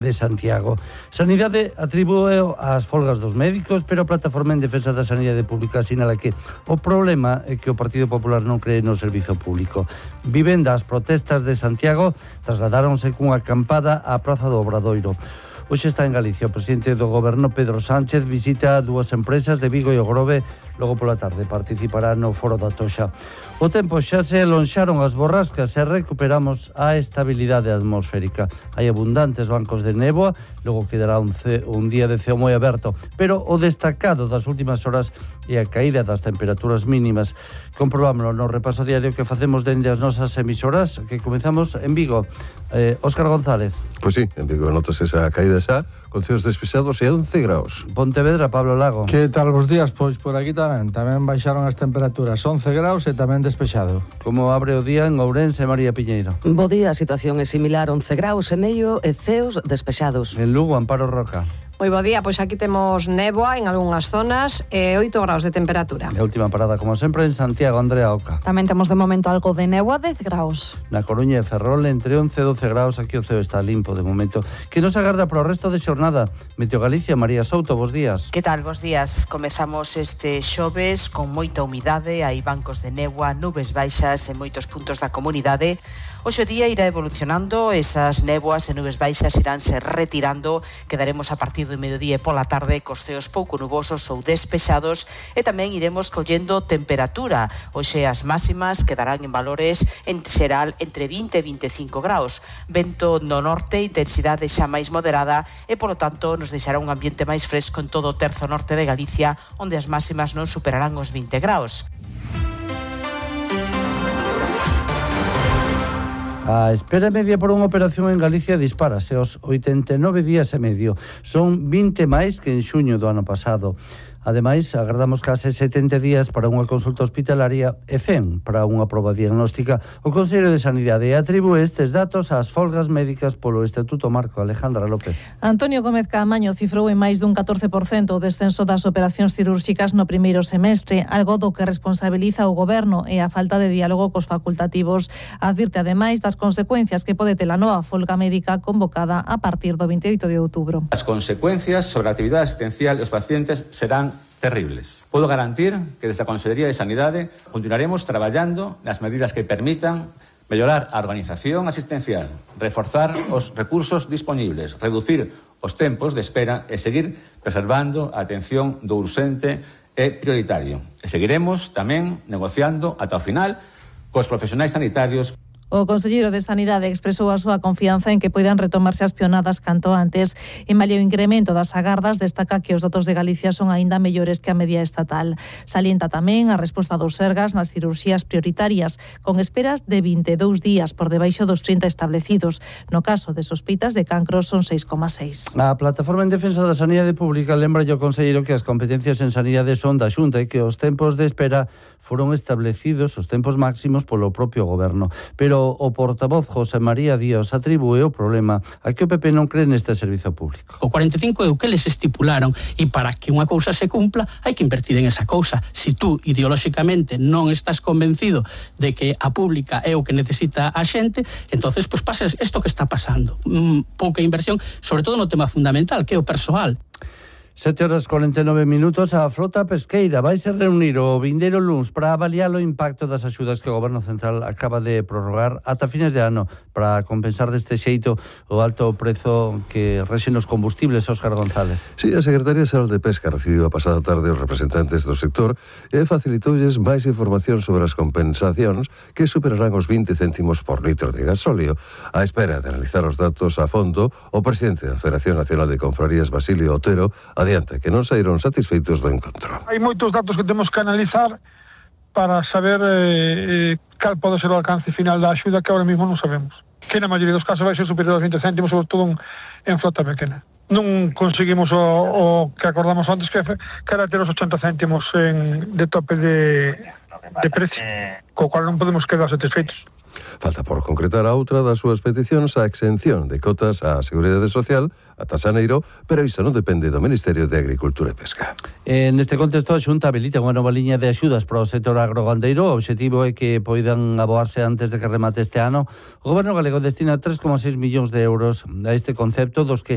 de Santiago. Sanidade atribúe ás folgas dos médicos, pero a Plataforma en Defensa da Sanidade Pública sinala que o problema é que o Partido Popular non cree no servizo público. Vivenda, as protestas de Santiago trasladáronse cunha acampada á Praza do Obradoiro. Hoxe está en Galicia o presidente do Goberno, Pedro Sánchez, visita dúas empresas de Vigo e o Grove. Logo pola tarde participará no Foro da Toxa. O tempo xa se alonxaron as borrascas e recuperamos a estabilidade atmosférica. Hai abundantes bancos de néboa, logo quedará un día de ceo moi aberto, pero o destacado das últimas horas é a caída das temperaturas mínimas. Comprobámoslo no repaso diario que facemos dende as nosas emisoras, que comezamos en Vigo. Óscar González. Pois sí, en Vigo notas esa caída xa, con ceos despexados e 11 graus. Pontevedra, Pablo Lago. Que tal vos días? Pois por aquí tamén baixaron as temperaturas, 11 graus e tamén despexado. Como abre o día en Ourense, María Piñeiro? Bo día, a situación é similar, 11 graus e medio e ceos despexados. En Lugo, Amparo Roca. Moi bo día, pois aquí temos néboa en algunhas zonas e 8 graus de temperatura. E a última parada, como sempre, en Santiago, Andrea Oca. Tamén temos de momento algo de néboa, 10 graus. Na Coruña e Ferrol, entre 11 e 12 graus, aquí o ceo está limpo de momento. Que nos agarda para o resto de xornada? Meteo Galicia, María Souto, bos días. Que tal, bos días? Comezamos este xoves con moita humidade, hai bancos de néboa, nubes baixas en moitos puntos da comunidade. Hoxe o día irá evolucionando, esas néboas e nubes baixas iránse retirando, quedaremos a partir do mediodía e pola tarde cos ceos pouco nubosos ou despexados e tamén iremos collendo temperatura. Hoxe as máximas quedarán en valores en xeral entre 20 e 25 graus. Vento no norte, intensidade xa máis moderada e polo tanto nos deixará un ambiente máis fresco en todo o terzo norte de Galicia, onde as máximas non superarán os 20 graus. A espera media por unha operación en Galicia dispárase aos 89 días e medio. Son 20 máis que en xuño do ano pasado. Ademais, agardamos case 70 días para unha consulta hospitalaria e 100 para unha proba diagnóstica. O Consello de Sanidade atribúe estes datos ás folgas médicas polo Estatuto Marco. Alejandra López. Antonio Gómez Caamaño cifrou en máis dun 14% o descenso das operacións cirúrxicas no primeiro semestre, algo do que responsabiliza o Goberno e a falta de diálogo cos facultativos. Advirte ademais das consecuencias que pode ter a nova folga médica convocada a partir do 28 de outubro. As consecuencias sobre a actividade asistencial e os pacientes serán terribles. Podo garantir que desde a Consellería de Sanidade continuaremos traballando nas medidas que permitan mellorar a organización asistencial, reforzar os recursos dispoñibles, reducir os tempos de espera e seguir preservando a atención do urxente e prioritario. E seguiremos tamén negociando ata o final cos profesionais sanitarios. O conselleiro de Sanidade expresou a súa confianza en que poidan retomarse as pionadas canto antes. En malia o incremento das agardas, destaca que os datos de Galicia son aínda mellores que a media estatal. Salienta tamén a resposta dos Sergas nas cirurxías prioritarias, con esperas de 22 días por debaixo dos 30 establecidos. No caso de sospeitas de cancro son 6,6. A Plataforma en Defensa da Sanidade Pública lembra o conselleiro que as competencias en sanidade son da Xunta e que os tempos de espera foron establecidos, os tempos máximos, polo propio Goberno. Pero o portavoz José María Díaz atribúe o problema a que o PP non cree neste servizo público. O 45 é o que les estipularon e para que unha cousa se cumpla hai que invertir en esa cousa. Si tú ideolóxicamente non estás convencido de que a pública é o que necesita a xente, entonces pues pases isto que está pasando. Pouca inversión, sobre todo no tema fundamental, que é o persoal. 7:49. A frota pesqueira vai se reunir o vindeiro luns para avaliar o impacto das axudas que o Goberno Central acaba de prorrogar ata fines de ano para compensar deste xeito o alto prezo que rexen os combustibles. Óscar González. Sí, a Secretaría Xeral de Pesca recibiu a pasada tarde os representantes do sector e facilitoulles máis información sobre as compensacións que superarán os 20 céntimos por litro de gasóleo. A espera de analizar os datos a fondo, o presidente da Federación Nacional de Confrarías, Basilio Otero, adianta que non saíron satisfeitos do encontro. Hai moitos datos que temos que analizar para saber cal pode ser o alcance final da axuda que ahora mesmo non sabemos. Que na maioría dos casos vai ser superior aos 20 céntimos, sobre todo en flota pequena. Non conseguimos o que acordamos antes, que era ter os 80 céntimos de tope de precio, co cual non podemos quedar satisfeitos. Falta por concretar a outra das súas peticións a exención de cotas á Seguridade Social ata xaneiro, pero iso non depende do Ministerio de Agricultura e Pesca. Neste contexto, a Xunta habilita unha nova liña de axudas para o sector agrogandeiro. O obxectivo é que poidan aboarse antes de que remate este ano. O Goberno galego destina 3,6 millóns de euros a este concepto, dos que